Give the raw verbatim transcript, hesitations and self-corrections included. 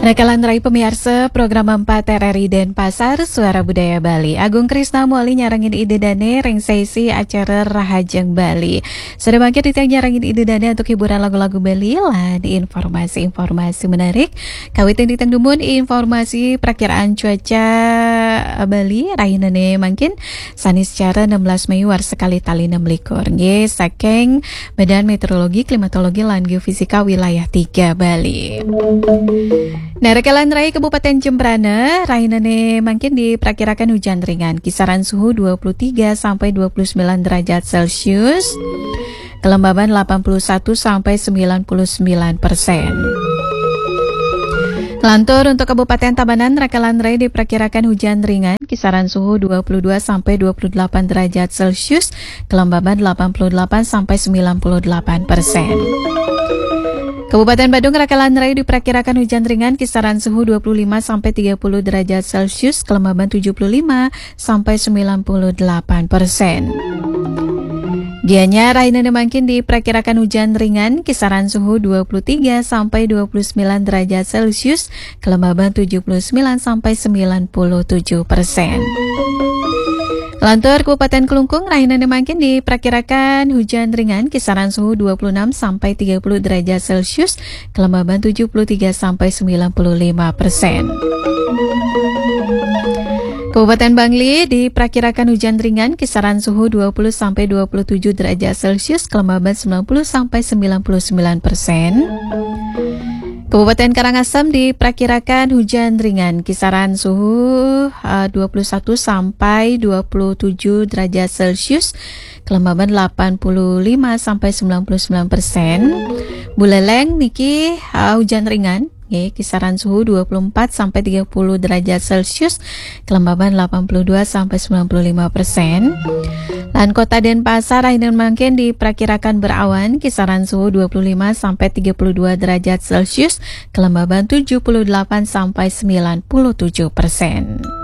Nah, kalian rai pemirsa program empat R R I Denpasar, Suara Budaya Bali. Agung Krisna Muali nyarengin Ida Dane ring sesi acara Rahajeng Bali. Sudah mangkin titiang nyarengin Ida Dane untuk hiburan lagu-lagu Bali lan informasi-informasi menarik. Kawitin titiang dumun informasi prakiraan cuaca Bali rahinane mangkin Saniscara enam belas Mei warsa kalih tali enam likur. Nggih, saking Badan Meteorologi, Klimatologi, lan Geofisika Wilayah tiga Bali. Nah, rekelan rai Kabupaten Jembrana, rahinane mangkin diprakirakan hujan ringan, kisaran suhu dua puluh tiga sampai dua puluh sembilan derajat Celcius, kelembaban delapan puluh satu sampai sembilan puluh sembilan persen. Lantur untuk Kabupaten Tabanan, rekelan rai diprakirakan hujan ringan, kisaran suhu dua puluh dua sampai dua puluh delapan derajat Celcius, kelembaban delapan puluh delapan sampai sembilan puluh delapan persen. Kabupaten Badung, rekelan rai diprakirakan hujan ringan, kisaran suhu dua puluh lima sampai tiga puluh derajat Celcius, kelembaban tujuh puluh lima sampai sembilan puluh delapan persen. Gianyar, rahinane mangkin diprakirakan hujan ringan, kisaran suhu dua puluh tiga sampai dua puluh sembilan derajat Celcius, kelembaban tujuh puluh sembilan sampai sembilan puluh tujuh persen. Lantur Kabupaten Klungkung, rahinane mangkin diprakirakan hujan ringan, kisaran suhu dua puluh enam sampai tiga puluh derajat Celcius, kelembaban tujuh puluh tiga sampai sembilan puluh lima persen. Kabupaten Bangli diprakirakan hujan ringan, kisaran suhu dua puluh sampai dua puluh tujuh derajat Celcius, kelembaban sembilan puluh sampai sembilan puluh sembilan persen. Kabupaten Karangasem diprakirakan hujan ringan, kisaran suhu uh, dua puluh satu sampai dua puluh tujuh derajat Celcius, kelembaban delapan puluh lima sampai sembilan puluh sembilan persen. Buleleng niki uh, hujan ringan, nggih, kisaran suhu dua puluh empat sampai tiga puluh derajat Celcius, kelembaban delapan puluh dua sampai sembilan puluh lima persen. Lan Kota Denpasar, rahinane mangkin diprakirakan berawan, kisaran suhu dua puluh lima sampai tiga puluh dua derajat Celcius, kelembaban tujuh puluh delapan sampai sembilan puluh tujuh persen.